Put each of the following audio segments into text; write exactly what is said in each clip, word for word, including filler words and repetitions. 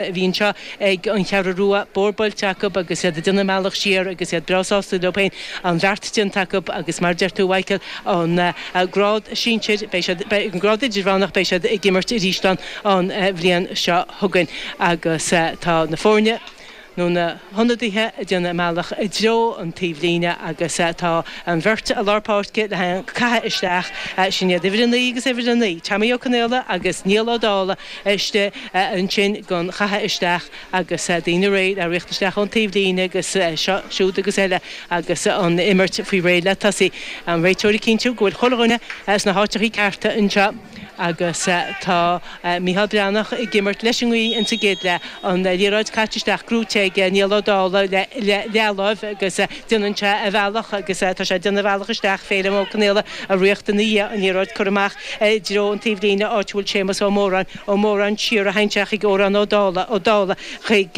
a bhí anseo ag an Cheathrú Rua, bóthar buailte acu agus iad ag déanamh a mbealach siar agus iad breá sásta leo féin, an bheart déanta acu agus mar a deir tú a Mhichael, an grád sinsir, beidh siad, beidh an grád idirmheánach, beidh siad ag imirt arís ann an bhliain seo chugainn agus tá na foirne. nó na hionadaithe ag déanamh a mbealach i dtreo an taobhlíne agus tá an bheirt i lár páirce le haghaidh an caitheamh isteach, sin iad uimhir a naoi agus uimhir a naoi, Tommy Ó Conaola agus Niall Ó Dálaigh istigh ansin don chaitheamh isteach agus daoine réidh le rith isteach ón taobhlíne agus seo, siúd agus eile agus an imirt faoi réir le tosaí. An réiteoir ag cinntiú go bhfuil chuile dhuine sna háiteachaí cearta anseo. Agus tá Micheál Breathnach ag imirt leis an ngaoth insa gcéad leath. An liathróid caite isteach, gnóite ag Niall Ó Dálaigh le leathláimh agus déanann sé a bhealach agus tá sé ag déanamh a bhealach isteach. Féilim Ó Conaola ag ritheacht ina dhiaidh, an liathróid curtha amach i dtreo an taobh líne áit a bhfuil Séamus Ó Móráin. Ó Móráin siar a théann sé chuig Odhrán Ó Dálaigh, Ó Dálaigh chuig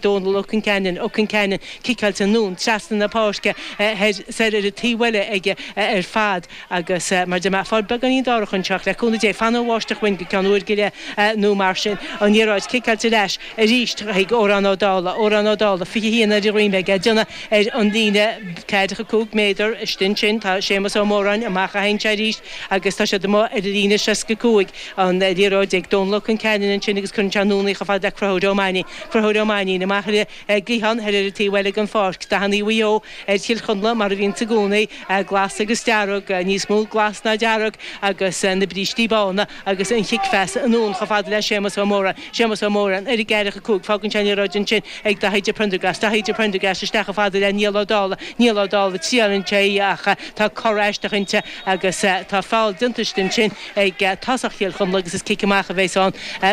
Dónal Ó Conceanainn, Ó Conceanainn ciceáilte anonn trasna na páirce thoir soir ar an taobh eile aige ar fad. Agus mar deir mé, fáil beagáinín dorcha anseo, ach le cúnamh Dé, fanfaidh an bháisteach uainn go ceann uair go leith nó mar sin. An liathróid ciceáilte ar ais arís chuig Odhrán Ó Dálaigh. Odhrán Ó Dálaigh, fiche haon ar a dhroim aige, ag déanamh ar an líne ceathracha cúig méadar istigh ansin. Tá Séamus Ó Móráin amach a théann sé arís agus tá siad amuigh ar an líne seasca cúig. An liathróid ag Dónal Ó Conceanainn ansin agus cuireann sé anonn í chomh fada le Conchúr Ó Mainnín. Conchúr Ó Mainnín amach ar an gcliathán thoir ar an taobh eile den pháirc. Dathanna Mhaigh Eo ar Chill Chonla mar a bhíonns i gcónaí. Glas agus dearg, níos mó glas ná dearg, agus na brístí bána agus an chic-phas anonn chomh fada le Séamus Ó Móráin. Séamus Ó Móráin ar an gceathracha cúig. Fágann sé an liathróid ansin ag Daithí de Prendergast. Daithí de Prendergast isteach chomh fada le Niall Ó Dálaigh. Niall Ó Dálaigh, triaileann sé í ach tá cor aisteach inti agus tá feall déanta istigh ansin ag tosach Chill Chonla agus is cic amach a bheas ann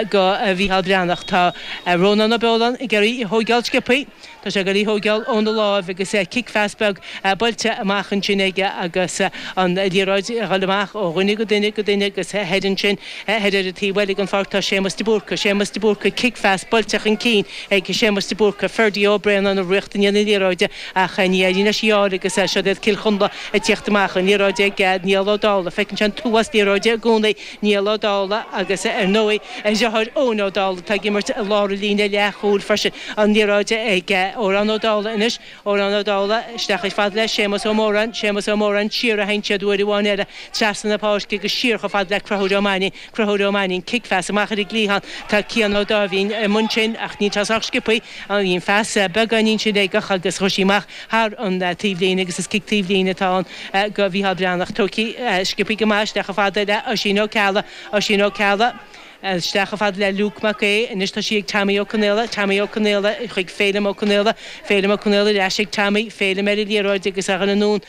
go Mhícheál Breathnach. Tá Rónán Ó Beoláin ag iarraidh í a thóigeáil sciobthaí. Tá sé ag dul í thóigeáil óna láimh agus cic-phas beag buailte amach ansin aige agus an liathróid ag dhul amach ó dhuine go duine go duine agus thoir ansin, thoir ar an taobh eile den pháirc tá Séamus de Búrca, Séamus de Búrca, cic-phas buailte chun cinn ag Séamus de Búrca, Ferdie Ó Braonáin ag ritheacht i ndiaidh na liathróide ach ní éiríonn leis í fháil agus siod iad Cill Chonla ag tíocht amach, an liathróid ag Niall Ó Dálaigh, feiceann sé an t-uafás liathróide i gcónaí, Niall Ó Dálaigh agus ar ndóigh a dheartháir Eoin Ó Dálaigh atá ag imirt i lár an líne leathchúil freisin. An liathróid ag Odhrán Ó Dálaigh anois. Odhrán Ó Dálaigh isteach chomh fada le Séamus Ó Móráin. Séamus Ó Móráin siar a théann siad uair amháin eile trasna na páirce agus siar chomh fada le Conchúr Ó Mainnín. Conchúr Ó Mainnín, cic-phas amach ar an gcliathán. Tá Cian Ó Dáimhín i mbun sin ach níl sé sách sciobtha. Bhí an phas beagáinín sin-éigeach agus chuaigh sí amach thar an taobhlíne agus is cic taobhlíne atá ann go Mhícheál Breathnach. Tógtha sciobtha go maith isteach chomh fada le Oisín Ó Ceallaigh. Oisín Ó Ceallaigh. Isteach chomh fada le Luke Mac Aodha. Anois tá sí ag Tommy Ó Conaola. Tommy Ó Conaola chuig Féilim Ó Conaola. Féilim Ó Conaola ar ais ag Tommy. Féilim ar an liathróid agus a dhul anonn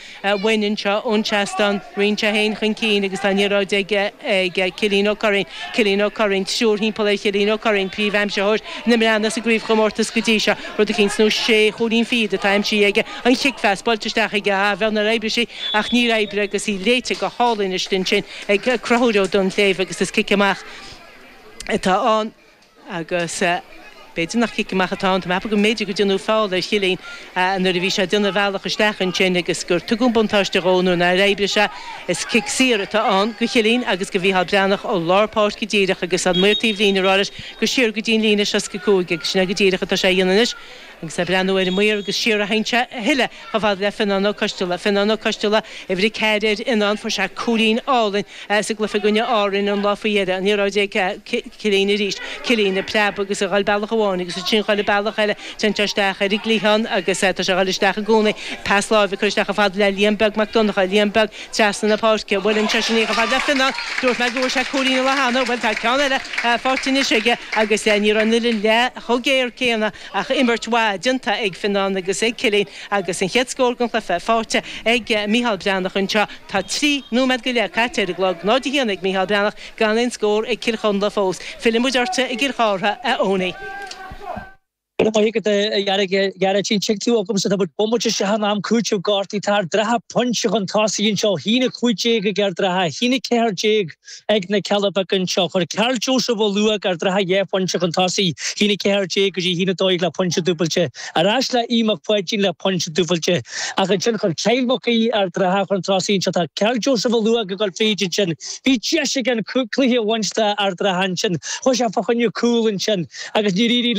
uainn anseo ón seastán. Ritheann sé féin chun cinn agus tá an liathróid ag ag Cillian Ó Curraoin. Cillian Ó Curraoin. Triúr thimpeall ar Chillian Ó Curraoin, príomh-aimsitheoir na mBreathnach sa gcraobhchomórtas go dtí seo. Rud eicínt nó sé chúilín fichead atá aimsithe aige. An chic-phas buailte isteach aige. Ah, bheag nár oibrigh sí ach níor oibrigh agus í léite go hálainn istigh ansin ag Conchúr Ó Duinnshléibhe agus is cic amach atá ann agus b'fhéidir nach cic amach atá ann, tá mé ag ceapadh go mb'fhéidir gur déanadh feall ar Chillian nuair a bhí sé ag déanamh a bhealach isteach ansin agus gur tugadh an buntáiste dhó nuair nár oibrigh sé. Is cic saor atá ann go Chillian agus go Mhícheál Breathnach ó lár páirce díreach agus an maor taobh líne ag rá leis gur siar go dtí an líne seasca cúig agus sin é go díreach atá sé a dhéanamh anois. Agus é ag breathnú ar an maor agus siar a théann sé a thuilleadh chomh fada le Fionán Ó Coisteala. Fionán Ó Coisteala, uimhir a ceathair ar Fhionán, fuair sé cúilín álainn sa gcluiche i gcoinne Árainn an lá faoi dheireadh. An liathróid ag Cillian arís. Cillian ag preabadh agus ag dhul bealach amháin agus ansin dhul bealach eile. Téann sé isteach ar an gcliathán agus tá sé ag dhul isteach i gcónaí. Pas láimhe curtha isteach chomh fada le Liam Beag Mac Donncha. Liam Beag trasna na páirce. Buaileann seisean í chomh fada le Fionán. Dúirt mé go bhfuair sé cúilín an lá cheana. Bhuel, tá ceann eile faighte anois aige agus ní raibh an uillinn leath chomh géar céanna Ach imirt mhaith déanta ag Fionán agus ag Cillian agus an chéad scór den chluiche faighte ag Micheál Breathnach anseo. Tá trí nóiméad go leith caite ar an gclog, náid a haon ag Micheál Breathnach, gan aon scór ag Cill Chonla fós. Fillfidh muid ortsa i gCill Chártha, a Eoiní. Ghearratín tú agam sa bomaite se han am cúte gartaí tar dratha pointe chun tosaigh anseo haon a cúig déag ag Ard an Rátha haon a ceathair déag ag na Cealla Beaga anseo chuir Karl Joseph Ó Luaigh Ard an Rátha dhá phointe chun tosaigh haon a ceathair déag go dtí haon a dó dhéag le pointe dúbailte ar ais le Aodh Mac Pháidín le pointe dúbailte ach ansin chuir Kyle Mac Aoidh Ard an Rátha chun tosaigh anseo tá Karl Joseph Ó Luaigh ag dul fríd ansin bhí deis ag an cluiche a bhaint d'Ard an Rátha ansin chuaigh sé fá choinne cúl ansin agus ní rí le